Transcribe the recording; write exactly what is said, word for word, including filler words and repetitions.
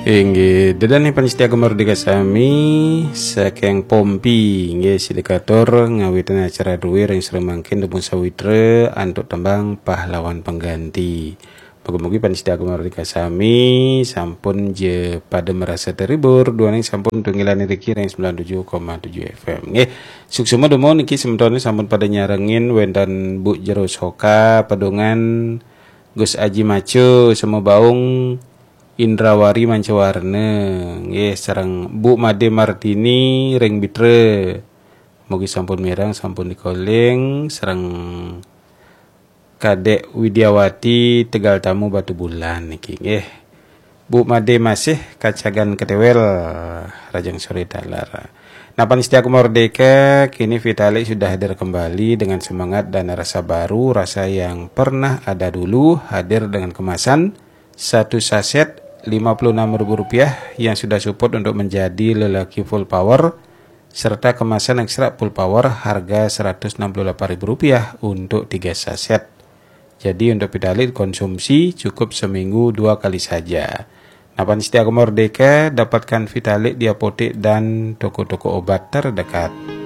Inggih, ida dané pamiarsa Gema Merdeka sami, saking Pompi, inggih, sida katur ngawitin acara druwé ring sareng mangkin tembung sawitra antuk tembang Pahlawan Pengganti. Mugi-mugi pamiarsa Gema Merdeka sami sampun ja pada marasa terhibur, duaning sampun tunggilan iriki ring sembilan tujuh koma tujuh F M. Nggih, suksma dumun niki semetoné sampun pada nyarengin wénten Bu Jero Soka, Pedungan, Gus Aji Macu, Sema Baung, Indrawari Mancawarna, nggih, sareng Bu Made Martini ring Bitra. Mugi sampun mireng, sampun dikoling, sareng Kadek Widiawati Tegal Tamu Batubulan niki, nggih. Bu Made masih kacagan ketéwél, rahajeng soré taler. Nah, pamiarsa Gema Merdeka, kini Vitalik sudah hadir kembali dengan semangat dan rasa baru, rasa yang pernah ada dulu, hadir dengan kemasan satu saset lima puluh enam ribu rupiah yang sudah support untuk menjadi lelaki full power, serta kemasan ekstra full power harga seratus enam puluh delapan ribu rupiah untuk tiga saset. Jadi, untuk Vitalik konsumsi cukup seminggu dua kali saja. Nah, pamiarsa Gema Merdeka, dapatkan Vitalik di apotek dan toko-toko obat terdekat.